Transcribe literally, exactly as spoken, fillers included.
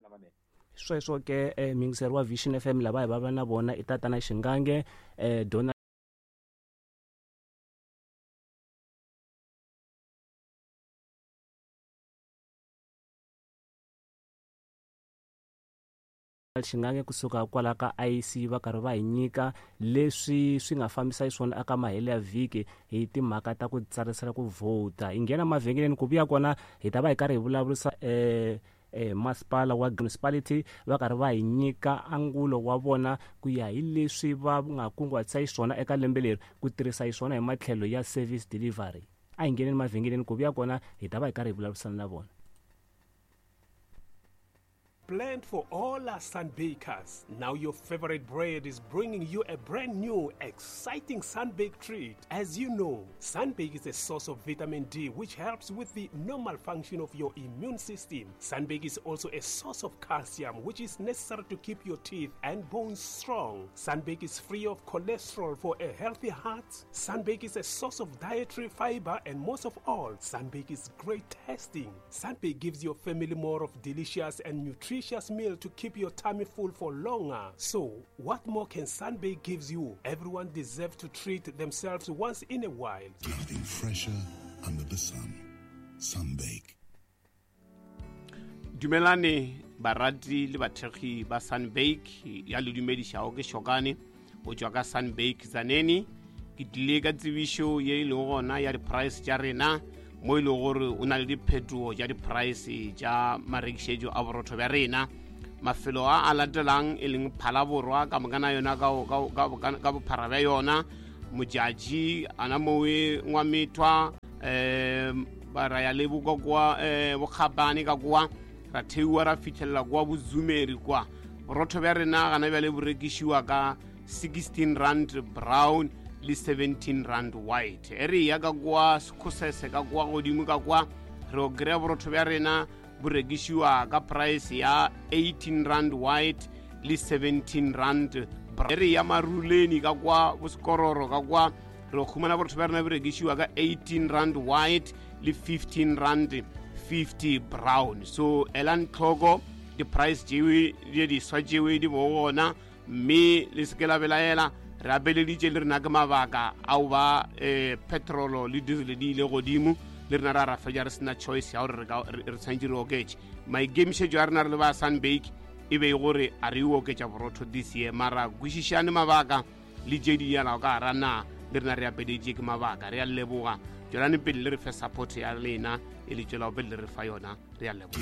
Lamanene. Sweswo ke eh, muyingiseri wa Vision F M lava hi va na vona i tatana Shingange eh, Donald Shingange kusuka kwala ka I C va karhi va hi nyika leswi swi nga fambisa xiswona eka mahelo ya vhiki hi timhaka ta ku tsarisela ku vhota. Hi nghena mavhengeleni ku vuya kona hi ta va hi karhi hi vulavurisa eh, eh, masipala wa municipality va karhi va hi nyika angulo wa vona ku ya hi leswi va nga kunguhatisa xiswona eka lembe leri ku tirhisa xiswona hi matlhelo ya service delivery. A hi ngheneni mavhengeleni ku vuya kona hi ta va hi karhi hi vulavurisana na vona. Planned for all our sunbakers. Now your favorite bread is bringing you a brand new, exciting sunbake treat. As you know, sunbake is a source of vitamin D, which helps with the normal function of your immune system. Sunbake is also a source of calcium, which is necessary to keep your teeth and bones strong. Sunbake is free of cholesterol for a healthy heart. Sunbake is a source of dietary fiber, and most of all, sunbake is great tasting. Sunbake gives your family more of delicious and nutritious meal to keep your tummy full for longer. So, what more can Sunbake gives you? Everyone deserves to treat themselves once in a while. Nothing fresher under the sun. Sunbake. Dumelane barati le bathekgi ba Sunbake ya le dumedišago ke Shokane o tšwa ka Sunbake Tzaneen. Ke tlile ka tsebišo ye e lego gona ya di-price tša rena mo e lego gore o na le diphetogo tša di-price tša marekišetšo a borotho bja rena. Mafelo a a latelang e leng Phalaborwa ka mokana yona ka bophara bja yona, Modjadji ana mowe Ngwamethwa um ba ra ya le boka kwa um Bokgabane ka kwa ra theiwa ra fitlhelela kwa Bozumeri kwa. Borotho bja rena gana bjale bo rekišiwa ka sixteen rand brown le seventeen rand white. E re ya ka kwa Sekhosese ka kwa godimo ka kwa re o kry-a borotho bja rena bo rekišiwa ka price ya eighteen rand white le seventeen rand brown. E re ya Maruleni ka kwa Bosekororo ka kwa re khumana borotho bja rena bo rekišiwa ka eighteen rand white le fifteen rand fifty brown. So elang tlhoko di-price tšewe di diswa tšewe di bo gona, mme le se ke la belaela. Re abeleditše le rena ke mabaka ao ba um petrolo le diesel di ile godimo, le rena ra ra fetša re sena choice ya gore re tshwanetse re oketše. Maikemišetšo a rena re le ba Sunbake e be gore a re oketša borotho this year, mara kwešišane mabaka le tše di yalago ka gara na le rena re apeleditše ke mabaka. Re a leboga, tšwelane pele le re fe support ya lena e le tšwelago pele le re fa yona. Re a leboga.